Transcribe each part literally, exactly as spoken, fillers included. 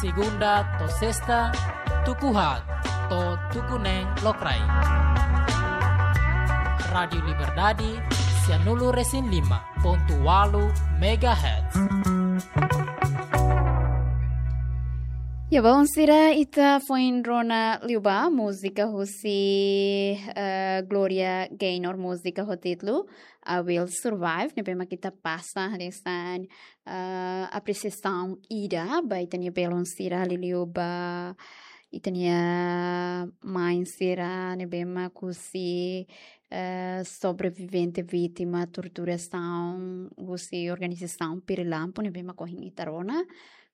Segunda to'o sesta, tuku haat to'o tuku neen lokraik. Rádiu Liberdade, sianulu-resin-lima pontu ualu megahertz. Ya, balun sira, ita foin rona liubá múzika husi, eh, Gloria Gaynor, múzika ho títulu I Will Survive, ne'ebé mak ita pasa hanesan, eh, apresiasaun ida ba ita-nia belun sira, liuliu ba ita-nia mãe sira ne'ebé mak husi, eh, sobrevivente vítima torturasaun husi organizasaun Pirilampu ne'ebé mak ohin ita rona.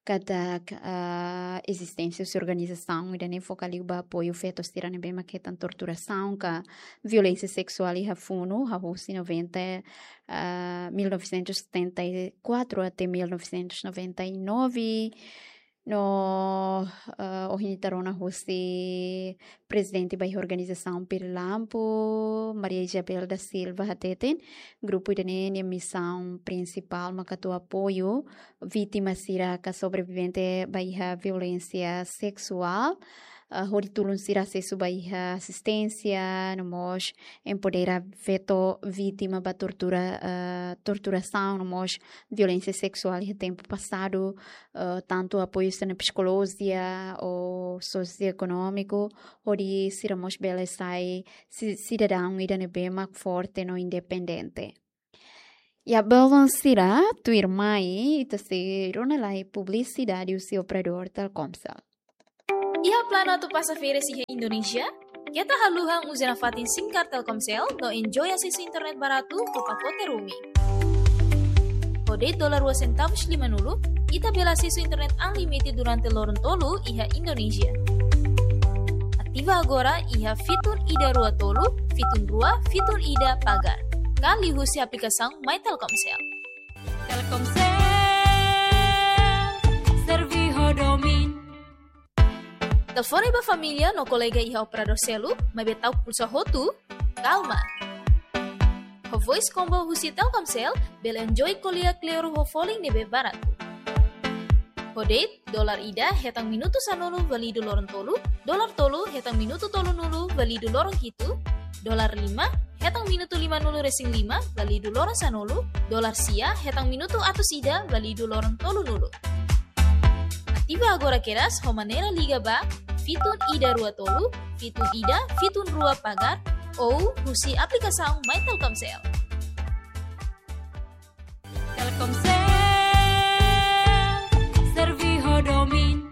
Katak, ah, ezisténsia husi organizasaun ida-ne'e foka liu ba apoiu feto sira ne'ebé mak hetan torturasaun ka violénsia seksuál iha funu, hahú husi noventa, ah, mil novecentos setenta e quatro até mil novecentos noventa e nove. No, ah, ohin ita rona husi prezidente ba iha organizasaun Pirilampu, Maria Isabel da Silva hateten, grupu ida-ne'e nia misaun prinsipál mak atu apoiu vítima sira ka sobrevivente ba iha violénsia seksuál, ah, hodi tulun sira asesu ba iha asisténsia, no mós empodera feto vítima ba tortura, ah, torturasaun, no mós violénsia seksuál iha tempu pasadu, ah, tantu apoiu sira-nia psikolojia ou sosioekonómiku, hodi sira mós bele sai si-, sidadaun ida ne'ebé mak forte no independente. Ya, balun sira, tuirmai ita sei rona lai publisidade husi operadór Telkomsel. Iha planu atu pasa férias iha Indonézia? Keta haluha uza nafatin SIM card Telkomsel no enjoy asesu internet baratu ho pakote roaming. Ho de'it dolar rua sentavus limanulu, ita bele asesu internet unlimited durante loron tolu iha Indonézia. Ativa agora iha fitun ida rua tolu, fitun rua, fitun ida pagar. Ka liuhusi aplikasaun My Telkomsel. Telkomsel, serve ho domin. Telefone ba família no kolega iha operadór seluk, maibé ta'uk pulsa hotu? Kalma. Ho voice combo husi Telkomsel, bele enjoy ko'alia kleur ho folin ne'ebé baratu. Ho de'it dolar ida hetan minutu sanulu válidu loron tolu, dolar tolu hetan minutu tolunulu válidu loron hitu, dolar lima hetan minutu limanulu-resin-lima válidu loron sanulu, dolar sia hetan minutu atus ida válidu loron tolunulu. Ativa agora kedas ho maneira liga ba fitun ida rua tolu, fitun ida, fitun rua pagar, ou husi aplikasaun My Telkomsel. Telkomsel, serve ho domin.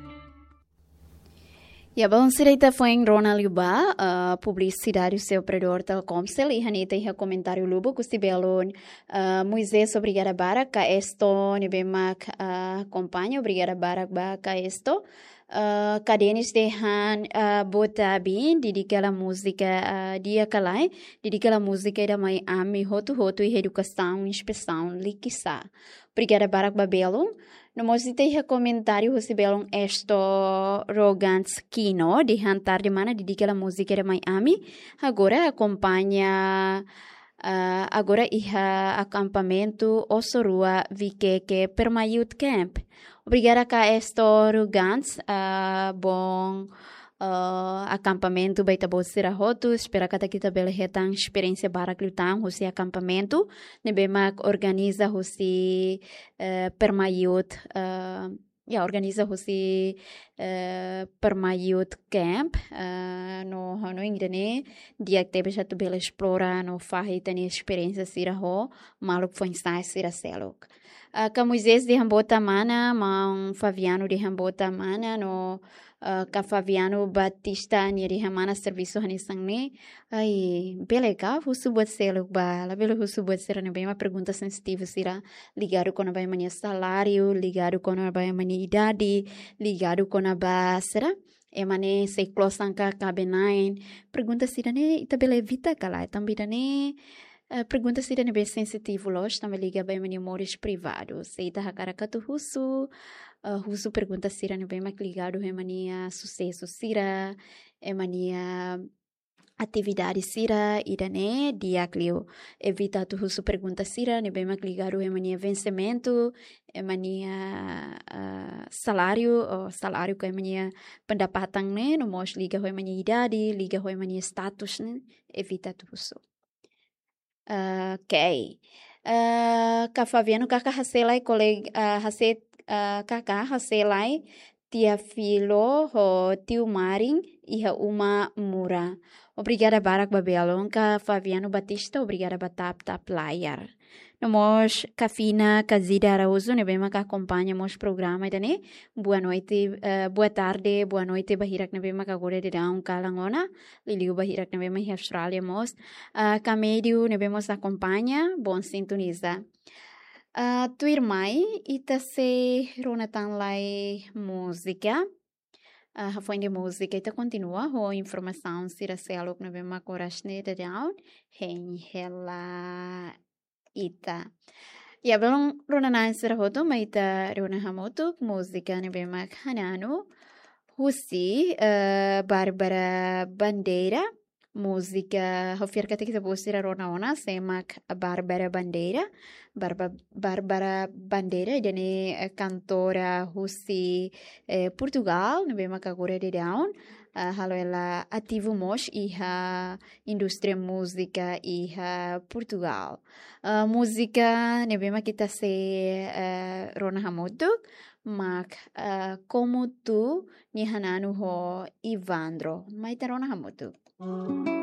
Ya, balun sira, ita foin rona liubá, ah, publisidade husi operadór Telkomsel, i hanesan ita iha komentáriu lubuk husi belun, ah, Moisés, obrigada barak, Ka Esto, ne'ebé mak, ah, akompaña, obrigada barak ba Ka Esto. Ah, Ka Denis dehan, ah, boa tarde, dedika la múzika, ah, di'ak ka lae, dedika la múzika ida mai ami hotu-hotu iha edukasaun, inspesaun, likisá. Obrigada barak ba belun. No mós ita iha komentáriu husi belun Esto Rogans Kino, dehan tarde mana, dedika la múzika ida mai ami. Agora akompaña, ah, agora iha akampamentu Oso Rua Vikeke Perma Youth Camp. Obrigada Ka Esto Rogans, ah, bom, ah, akampamentu ba ita-boot sira hotu, espera katak ita bele hetan esperiénsia barak liután husi akampamentu ne'ebé mak organiza husi, eh, Perma Youth, eh, ya, organiza husi, eh, Perma Youth Camp, eh, no ha'u hanoin ida-ne'e di'ak tebes atu bele esplora no fahe ita-nia esperiénsia sira ho maluk foin-sa'e sira seluk. Ah, Ka Moisés dehan boa tarde mana, maun Fabiano dehan boa tarde mana, no, ah, Ka Fabiano Batista nia dehan mana servisu hanesan ne'e. Ai, bele ka husu buat seluk ba, labele husu buat sira ne'ebé mak pergunta sensitivu sira, ligadu kona-ba ema nia saláriu, ligadu kona-ba ema nia idade, ligadu kona-ba sira, ema ne'e sei klosan ka kaben-na'in. Pergunta sira-ne'e ita bele evita ka lae, tanba ida-ne'e, eh, pergunta sira ne'ebé sensitivu loos, tanba liga ba ema nia moris privadu. Se ita hakarak atu husu, eh, husu pergunta sira ne'ebé mak ligadu ho ema nia susesu sira, ema nia atividade sira ida-ne'e di'ak liu. Evita atu husu pergunta sira ne'ebé mak ligadu ho ema nia vensimentu, ema nia, ah, saláriu, ou saláriu ka ema nia pendapatan ne'e, no mós liga ho ema nia idade, liga ho ema nia status ne'e, evita atu husu. Ok. Ah, Ka Fabiano, Kaka hase'e lai kolega, ah, hase'e, ah, Kaka hase'e lai tia Filo ho tiu Marin iha uma Mura. Obrigada barak ba belun. Ka Fabiano Batista, obrigada ba tap tap layar. No mós Ka Fina, Ka Zida Araújo, ne'ebé mak akompaña mós programa ida-ne'e. Boa noite, eh, boa tarde, boa noite ba hirak ne'ebé mak agora daudaun kalan ona. Liuliu ba hirak ne'ebé mak iha Austrália mós. Ah, Ka Médio ne'ebé mós akompaña, bom sintoniza. Ah, tuirmai, ita sei rona tan lai múzika. Ah, hafoin de múzika, ita kontinua ho informasaun sira seluk ne'ebé mak oras ne'e daudaun hein hela ita. Ya, belun rona-na'in sira hotu, mai ita rona hamutuk múzika ne'ebé mak Hananu, husi, eh, Bárbara Bandeira. Múzika, ha'u fiar katak ita-boot sira rona ona sé mak Bárbara Bandeira. Barba-, Bárbara Bandeira, ida-ne'e, eh, kantora husi, eh, Portugal, ne'ebé mak agora daudaun, ah, halo hela ativu mós iha indústria múzika iha Portugal. Ah, múzika ne'ebé mak ita sei, eh, rona hamutuk, mak, ah, Como Tu, nia Hananu ho Ivandro. Mai ita rona hamutuk.